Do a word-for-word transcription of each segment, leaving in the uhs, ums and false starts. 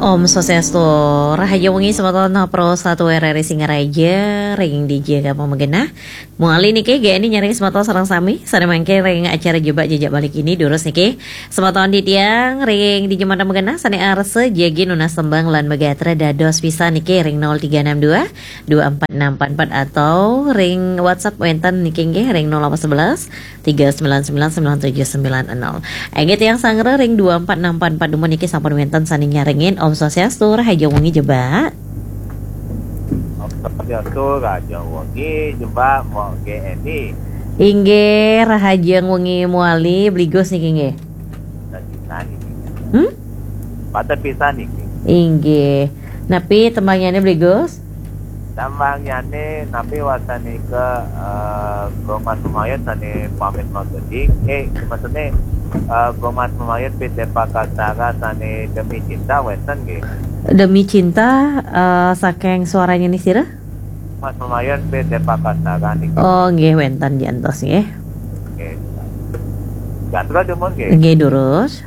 Om Swastiastu, rahajeng wengi semeton Pro satu R R I Singaraja, ring dija ké pamagenah. Mawali niki G N I nyaring semeton sareng sami, sané mangkin ring acara Jebak Jejak Bali Kini, durus niki. Semeton titiang ring dija magenah sané arsa jagi nunas tembang lan magatra dados pisan niki ring nol tiga enam dua, dua empat enam empat empat atau ring WhatsApp wénten niki nggih ring nol delapan sebelas, tiga sembilan sembilan, sembilan tujuh sembilan nol. Inggih tiang sanggra ring dua empat enam empat empat dumun niki sampun wénten sané nyarengin. Om Swastiastu, rahajeng wengi Jebak. Om Swastiastu, rahajeng wengi Jebak, Mbok G N I. Inggih, rahajeng wengi mawali, Bli Gus niki nggih. Pata pisan niki. Hmm? Pata pisan niki. Inggih. Napi tembangnyané Bli Gus? Tembangnyané napi wastané ké, eh, Gung Mas Mamayut sané pamit magending. Eh, maksudné, eh, Gung Mas Mamayut Pit Dépakastara sané Demi Cinta wénten nggih. Demi Cinta, eh, saking suaranya nih sira? Mas Mamayut Pit Dépakastara niki. Oh, nggih wénten jantos nggih. Nggih. Gatra dumun nggih. Nggih, durus.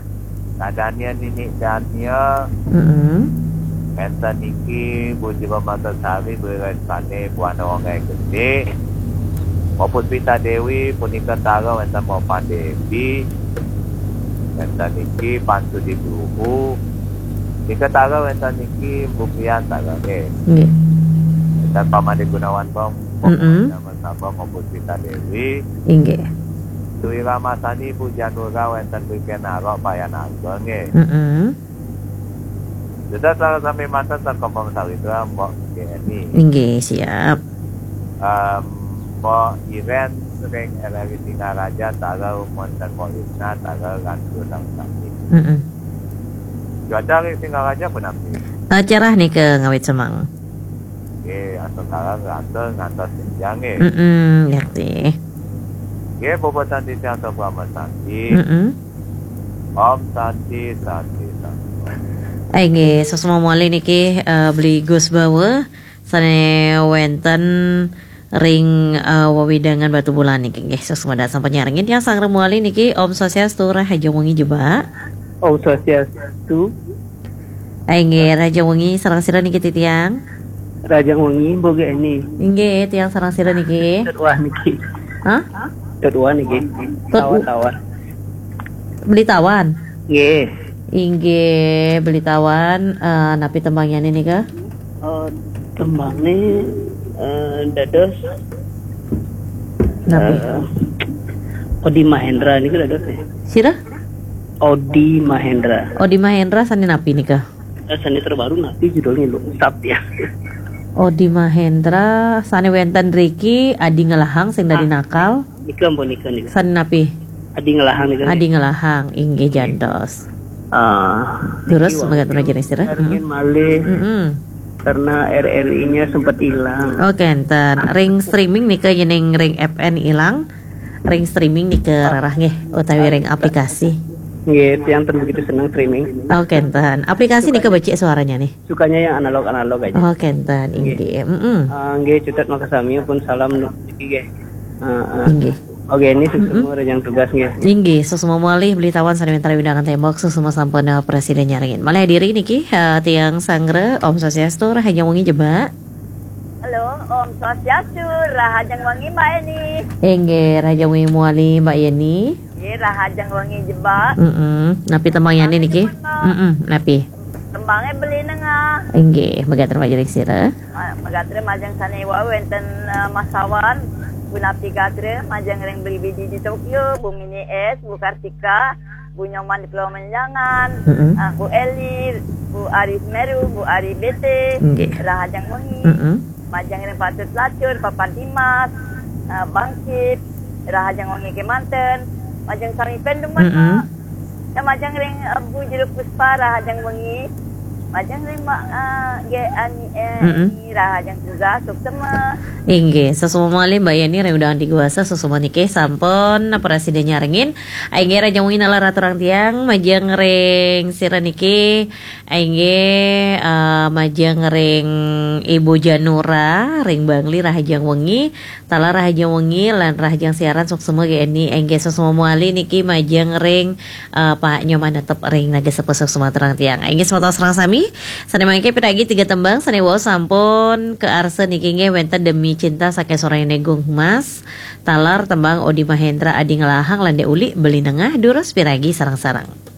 Kadania Nini Dania. Mm-mm. Énten niki Bu Jiwa Matasari, Bu Respane, Bu Ana Wonggai Gedé. Bu Puspita Dewi, punika tara wénten Bu Padewi. Énten niki Pan Sudi Guru. Nika tara wénten niki Bu Priyan tara nggih. Nggih. Énten Pamade Gunawan Bong, Bu Mm-mm. Nama Sabong, Bu Puspita Dewi. Inggih. Dwi Ramasani, Bu Janura, wénten Bu Kenaro, Payan Ageng nggih. Mm-mm. Sudah salah sami manten sakompong sawitra, Mbok G N I. Inggih, siap. Em, Mbok Iren ring R R I Singaraja, tara wénten Mbok Isna, tara Ratu Dangsani. Mm-mm. Cuaca ring Singaraja punapi? Eh, cerah nika ngawit semeng. Nggih, asal kalah ngantos, ngantos senjang nggih. Mm-mm, ngerti. Nggih, bobotan titiang Prama Santi. Mm-mm. Om Santi, Santi, Santi. Eh, nggih, suksma malih niki, eh, Beli Gus Bawa, sané wénten ring, eh, wewidangan Batubulan niki, nggih, suksma dasa sampun nyarengin. Tiang sanggra malih niki, Om Swastiastu, rahajeng wengi Jebak. Om Swastiastu. Eh, nggih, rahajeng wengi sareng sira niki titiang. Rahajeng wengi, Mbok G N I. Inggih, tiang sareng sira niki. Tut Wah niki. Hah? Tut Wah niki. Tut Tawan, Tawan. Beli Tawan? Nggih. Inggih, Beli Tawan, eh, napi tembangnyané nika? Eh, tembangné, eh, dados Napi? Eh, Odi Mahendra niku dados nggih. Sira? Odi Mahendra. Odi Mahendra sané napi nika? Eh, sané terbaru napi judulnya, lho? Sap ya. Odi Mahendra sané wénten riki Adi Ngelahang sing dadi Ah. nakal. Nika ampun nika nika. Sané napi? Adi Ngelahang nika. Adi Ngelahang, inggih jantos. Ah, terus niki megat wau raja sira? Ingin malih Mm-mm. karena R R I-nya sempat hilang. Oh, kénten. Ring streaming nika yéning ring F N ilang. Ring streaming nika rarah nggih utawi ring aplikasi. Nggih, tiang ten begitu seneng streaming. Oh, kénten. Aplikasi nika becik suaranya nih. Sukanya yang analog-analog aja. Oh, kénten, Nggih. inggih. Mm-mm. Ah, nggih, cutet makasami pun salam nu-, niki nggih. Ah, ah. Inggih. Oke, ini Mm-mm. sesungguh yang tugas nggih. Inggih, suksma malih Beli Tawan sané wénten wewidangan Tembok, suksma sampun, eh, presiden nyarengin. Malih diri niki, eh, tiang sanggra, Om Swastiastu, rahajeng wengi Jebak. Halo, Om Swastiastu, rahajeng wengi Mbak Eni. Inggih, rahajeng wengi mawali Mbak Yeni. Nggih, rahajeng wengi Jebak. Mm-mm. Napi tembangnyané niki? Mbak. Mm-mm, napi? Tembangé Beli Nengah. Inggih, megatra majeng sira. Ma-, megatra majeng sané wau wénten, eh, Mas Sawan, punapi gatra majeng ring Beli Bidi di Tokyo, Bu Mini S, Bu Kartika, Bu Nyoman di Pulau Menjangan, Mm-mm. eh, Bu Eli, Bu Ari Semeru, Bu Ari B T, Nggih. Rahajeng wengi, Mm-mm. majeng ring Patut Lacur, Papan Timas, eh, Bangkit, rahajeng wengi kémanten, majeng sami pun dumun, Mm-mm. Mak. Ya, majeng ring, eh, Bu Juru Puspa, rahajeng wengi. Majeng ring Mak, eh, G N I, Mm-mm. rahajeng tugas, suksma. Inggih, suksma malih Mbak Yeni ring wewidangan Diguasa, suksma niki sampun presiden nyarengin. Inggih, rahajeng wengi nalar aturang tiang, majeng ring sira niki. Inggih, eh, majeng ring Ibu Janura, ring Bangli, rahajeng wengi. Talar rahajeng wengi lan rahajeng siaran, suksma G N I. Inggih, suksma mawali niki majeng ring, eh, Pak Nyoman, tetep ring Naga Sepuh, suksma aturang tiang. Inggih, semeton sareng sami. Sané mangké piragi tiga tembang sané wau sampun kaarsa niki nggih wénten Demi Cinta saking Soraya Negong Humas, taler tembang Odi Mahendra Adi Ngelahang lan Dék Uli Beli Nengah, durus piragi sareng-sareng.